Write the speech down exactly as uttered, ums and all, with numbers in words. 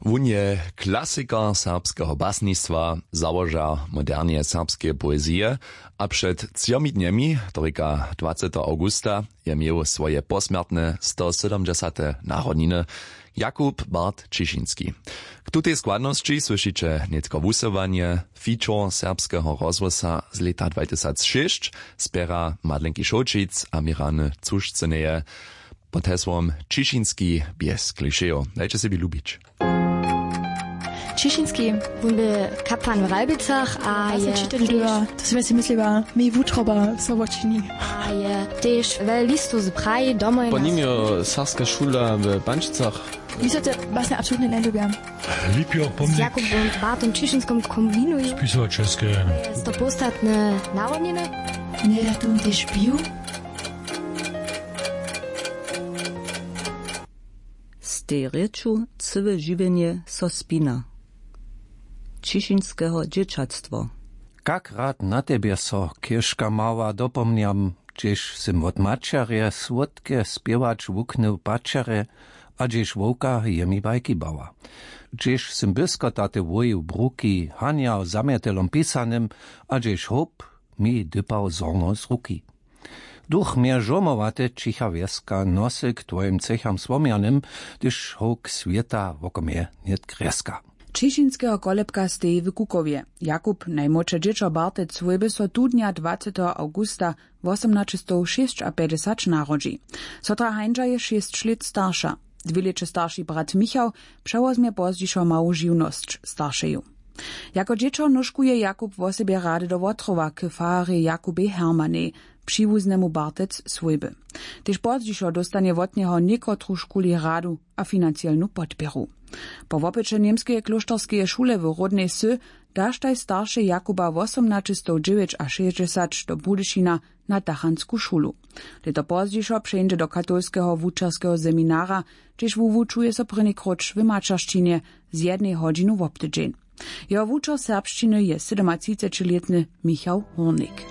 Wón je klasikar serbskeho basnistwa, załožar modernje serbskeje poezije, a před třomi dnjemi, to rěka dwaceteho awgusta, je měł swoje posmjertne stosydomdźesate narodniny Jakub Bart Ćišinski. K tutej składnosći słyšiće nětko wusyłanje, feature serbskeho rozhłosa z lěta dwatysacšěsć, spěra Madlenki Šołćic a Mirany Cušcyneje pod hesłom Ćišinski bjez klišejow. Dajće sebi lubić. Ćišinski. Wón bě kapłan w Ralbicach a je čitać dyrja, to sym ja sej mysliła, mi wutroba so wočini. A je tež wjele listow z Praji domoj. Po nim je serbska šula w Pančicach. Mi so te basnje absolutnje njelubja. Lipior pomnik. Z Jakubom Bartom Ćišinskom kombinuju. Spisowaćelske. Stopostatne narodniny. Njedatun tež piju. Z tej rěču cyłe žiwjenje so spina. Ćišinskeho dźěćatstwo. Kak rad na tebje so, chěžka mała, dopomnjam, hdźež sym wot maćerje słódke spěwać wuknył paćerje a hdźež wowka je mi bajki bała. Hdźež sym byskotaty wojił bruki, hanjał zamjetelom pisanym a hdźež hołp mi dypał zhorno z ruki. Duch mje žurmowate, ćicha wjeska, nosy k twojim třěcham słomjanym, hdyž howk swěta woko mje nětk rjeska. Ćišinskeho kolebka steji w Kukowje. Jakub, najmłodše dźěćo Bartec swójby, so tu dnja dwaceteho awgusta wosomnaćestowšěsćapjećdźesać narodźi. Sotra Hańdźa je šěsć lět starša. Dwě lěće starši brat Michał přewozmje pozdźišo mału žiwnosć staršeju. Jako dźěćo nóžkuje Jakub wosebje rady do Wotrowa k fararjej Jakubej Hermanej, přiwuznemu Bartec swójby. Tež pozdźišo dóstanje wot njeho někotružkuli radu a financielnu podpěru. Po wopyće němskeje klóšterskeje šule w ródnej wsy daštaj staršej Jakuba wosomnaćestowdźewjećašěsćdźesać do Budyšina na dachansku šulu. Lěto pozdźišo přejdźe do katolskeho wučerskeho seminara, hdźež wuwučuje so prěni króć w maćeršćinje z jednej hodźinu wobtydźeń. Jeho wučer serbšćiny je sydomatřicećilětny Michał Hórnik.